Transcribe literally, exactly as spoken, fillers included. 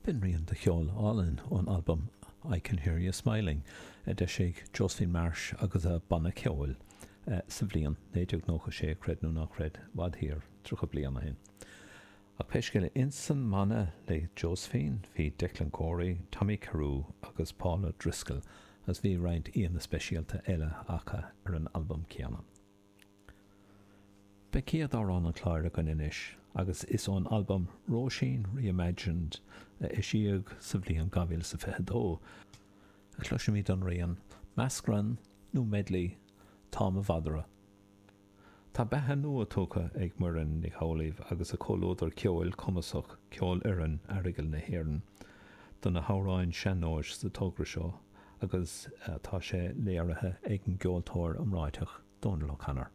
B'in rian de cheol álainn ón albam I Can Hear You Smiling a d'eisigh Josephine Marsh agus a banna ceoil sa bhliain naoi déag nócha sé, creid nó ná creid, i bhfad thiar, tríocha bliain ó shin. Ach pé scéal é, ins an mbanna le Josephine bhí Declan Corey, Tommy Carew agus Paul O'Driscoll agus bhí roinnt aíonna speisialta eile acu ar an albam céanna. Beidh céad amhrán an chláir againn anois agus is ón albam Róisín Reimagined a eisíodh sa bhliain dhá mhíle is a fiche dó a chloisfimid an rian meascán nó medley Tá mo Mhadra. Tá beatha nua tugtha ag Muireann Nic Amhlaoibh agus a comhluadar ceoil cumasach Ceolfhoireann Aireagail na hÉireann do na hamhráin sean-nóis sa togra seo agus tá sé léirithe ag an gceoltóir iomráiteach Dónal O'Connor.